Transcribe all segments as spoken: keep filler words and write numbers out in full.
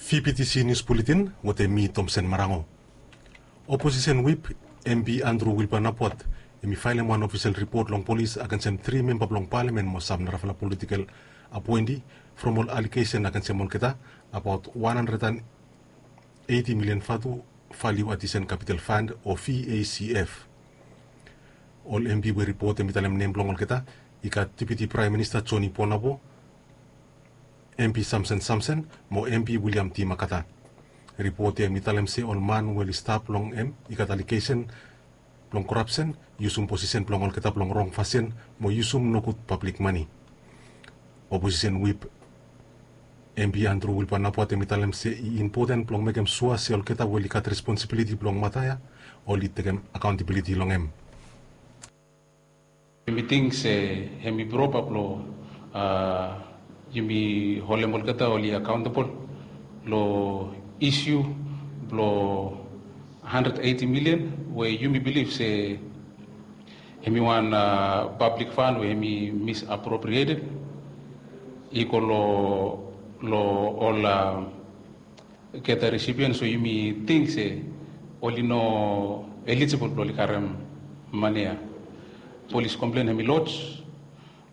VPTC News Bulletin wetem mi, Tomsen Marango. Oposisen Whip, MP Andrew Wilbur Napuat, hemi faelem wan ofisel ripot long polis agensem tri memba blong palamen mo sam narafala politikel apoenti from ol alegesen agensem olgeta abaot wan handred and eiti milian vatu Value Addition Capital Fund o VACF. Ol MP we ripot hemi talem nem blong olgeta i gat Deputi Praem Minista Joni Ponabo, MP Samson Samson mo MP William T Makata. Ripot ya hemi talem se ol man we oli stap long hem i gat alegesen blong korapsen, yusum posisen blong olgeta blong rong fasin mo yusum nogud pablik mane. Oposisen Whip, MP Andrew Wilbur Napuat, hemi talem se i impoten blong mekem sua se olgeta we oli gat responsibiliti blong mata ya oli tekem akaontabiliti long hem. Yumi ting se hemi propa blo, a, yumi holem olgeta oli akaontabol lo isu blo handred eiti milian we yumi bilif se hemi wan, a, pablik fan we hemi misappropriated i go lo, lo ol, a, geta resipian, so yumi ting se oli no elijibol blo oli karem mane ya. Polis komplen hemi loj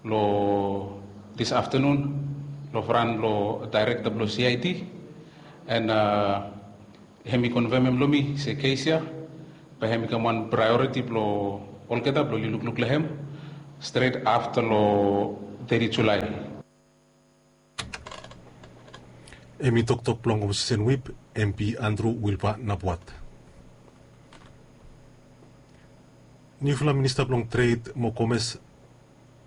lo this afternoon lo fran blo daerekta blo CID, and, a, hemi konfemem lo mi se kes ya bae hemi kam wan praeoriti blo olgeta blo oli lukluk lo hem stret afta lo teti Julae. Hemi toktok blong Oposisen Whip, MP Andrew Wilbur Napuat. Niufala Minista blong Tred mo Komes,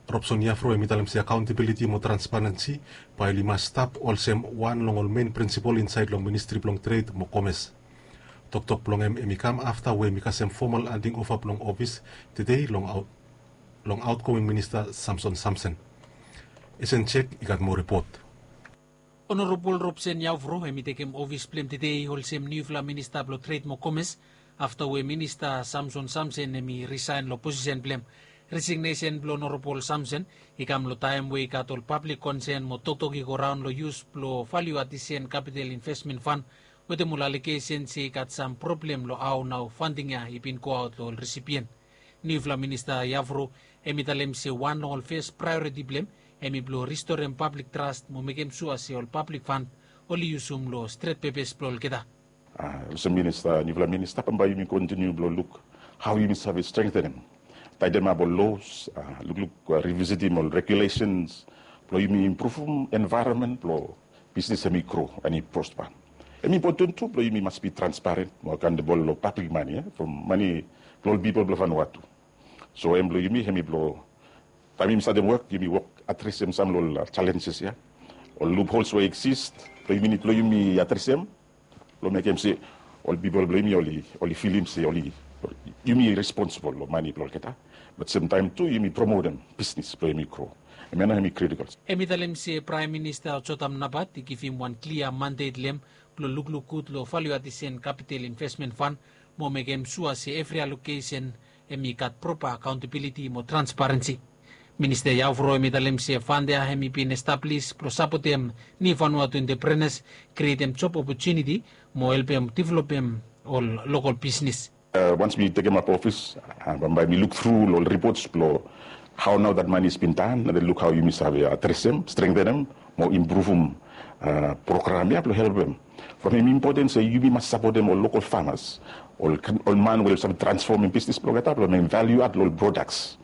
Robson Yavro, hemi talem se akaontabiliti mo transparensi bae oli mas stap olsem wan long ol men prinsipol insaed long Ministri blong Tred mo Komes. Toktok blong hem hemi kam afta we hemi kasem fomal anding ova blong ofis tede long aot long aotgoing Minista Samson Samson. Esen Jek i gat moa ripot. Onorabol Robson Yavro hemi tekem ofis blem tede olsem niufala Minista blo Tred mo Komes afta we Minista Samson Samson hemi risaen lo posisen blem. Resignesen blo Onorabol Samson i kam lo taem we i gat ol pablik konsen mo toktok i go raon lo yus blo Value Addition Capital Investment Fund wetem ol alegesen se i gat sam problem lo hao nao fanding ya i bin goaot lo ol resipien. Niufala Minista Yavro hemi talem se wan long ol fes praeoriti blem hemi blo ristorem pablik tras mo mekem sua se ol pablik fan oli yusum lo stret pepes blo olgeta. A, olsem minista, niufala minista, bambae yumi kontiniu blo luk hao yumi save strengtenem, taetemap ol los, a, lukluk, a, rivisitim ol regulesens blo yumi impruvum envaeronmen blo bisnis hemi gro and i prospa. Hemi impoten tu blo yumi mas bi transparen mo akaontebol lo pablik mane, e, from mane blo ol pipol blo Vanuatu. So hem blo yumi hemi blo taem yumi statem wok, yumi wok adresem sam lo ol, a, jalenjes ya, ol luphols we i eksis, blo yumi nid blo yumi adresem blo mekem se ol pipol blo yumi oli, oli filim se oli, yumi responsibol lo mane blo olgeta, bat semtaem tu yumi promotem bisnis blo yumi gro. Hemia nao hemi kritikol. Hemi talem se Praem Minista Jotam Napat i givim wan klia mandet lo hem blo lukluk gud lo Value Addition Capital Investment Fund mo mekem sua se evri alokesen hemi gat propa akaontabiliti mo transparensi. Minista Yavro hemi talem se fand ya hemi bin establis blo sapotem niu Vanuatu entreprenas, krietem job opotuniti mo helpem developem ol lokol bisnis. A, wans mi tekemap ofis, a, bambae mi luk tru lo ol ripots blo hao nao that money has been done, and then luk hao yumi save adresem, strengtenem mo impruvum, a, program ya blo helpem. From hem impoten se yumi mas sapotem ol lokol famas, ol, ol man we oli save transfomem bisnis blo olgeta blo mekem value add lo ol prodaks.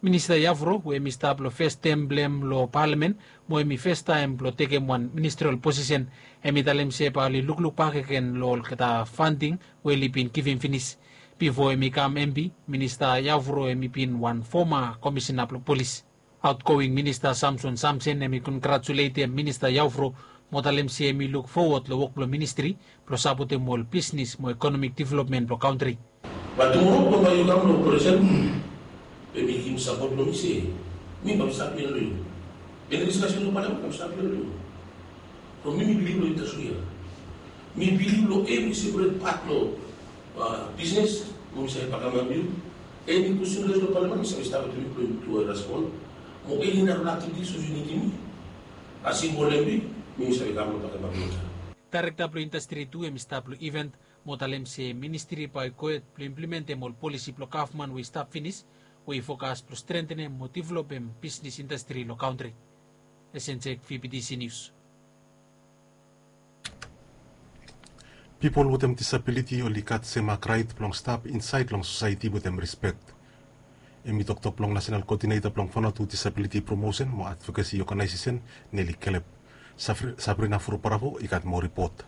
Minista Yavro we hemi stap lo fes tem blem lo palamen mo hemi festaem blo tekem wan ministrol posisen, hemi talem se bae oli lukluk bak agen lo olgeta fanding we oli bin givim finis. Bifo hemi kam MP, Minista Yavro hemi bin wan foma komisena blo polis. Aotgoing Minista Samson Samson hemi kongratuletem Minista Yavro mo talem se hemi luk fowod lo wok blo ministri blo sapotem ol bisnis mo ekonomik developmen blo kantri. Bat tumoro bambae yu kam lo presen, bae mi givim sapot lo mi se mi bae mi stap ia lo yu. Eni diskasen lo palamen bae mi stap ia lo yu. From mi mi bilif lo yu tasol ia. Mi bilif lo evri seperet pat lo, a, bisnes, mo mi save bakapim yu. Eni kwestin res lo palamen mi save stap wetem yu blo yu tu respon. Mo eni narafala aktivitis we yu nidim mi, as simbol MP, mi mi save kam lo bakapim yu. Daerekta blong indastri tu hem i stap long iven mo talem se ministri bae i gohed blong implementem ol polisi blong gavman we i stap finis, we i fokas blong strengtenem mo developem bisnis indastri long kantri. Esenjek, V B T C News. Pipol wetem disabiliti oli gat semak raet blong stap insaed long sosaeti wetem rispek. Hem i toktok blong Nasenal Koodineta blong Vanuatu Disabiliti Promosen mo Advokesi Oganaesesen, Neli Kelep. Sabrina Furu Bravo i gat moa ripot.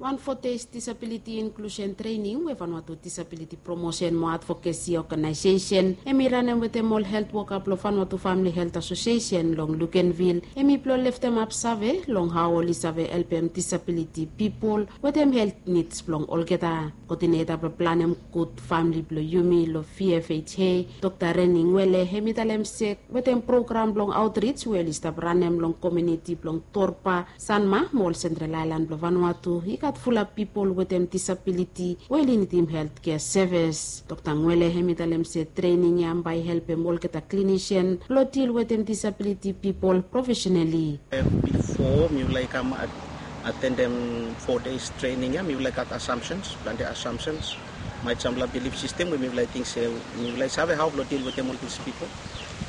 Wan fo deis disabiliti inklusen trening we Vanuatu Disabiliti Promosen mo Advokesi Oganaesesen hem i ranem wetem ol helt woka blong Vanuatu Famili Helt Asosiesen long Luganville hem i blong leftemap save long hao oli save helpem disabiliti pipol wetem helt nids blong olgeta. Koodineta blong planem gud famili blong yumi long V F H A, Dokta Reni Ngwele, hem i talem se wetem program blong aotrij we oli stap ranem long komuniti blong Torba, Sanma mo ol Sentral Aelan blong Vanuatu i gat fulap pipol wetem disabiliti we oli nidim heltkea sevis. Dokta Ngwele hem i talem se trening ya bae i helpem olgeta klinisian blong dil wetem disabiliti pipol profesenali. Bifo mifala i kam atendem fo deis trening ya, mifala i gat assumptions, plante assumptions. Maet samfala bilif sistem we mifala i ting se mifala i save hao blong dil wetem ol dis pipol.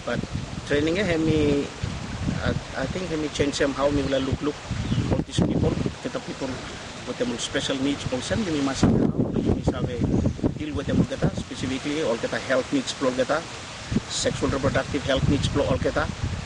Bat trening ya hem i, ating hem i jenisim hao mifala lukluk ol dis pipol, olgeta pipol wetem ol spesel nids olsem, yumi mas save hao blong yumi save dil wetem olgeta, spesifikli olgeta helt nids blong olgeta, seksual reprodaktiv helt nids blong olgeta.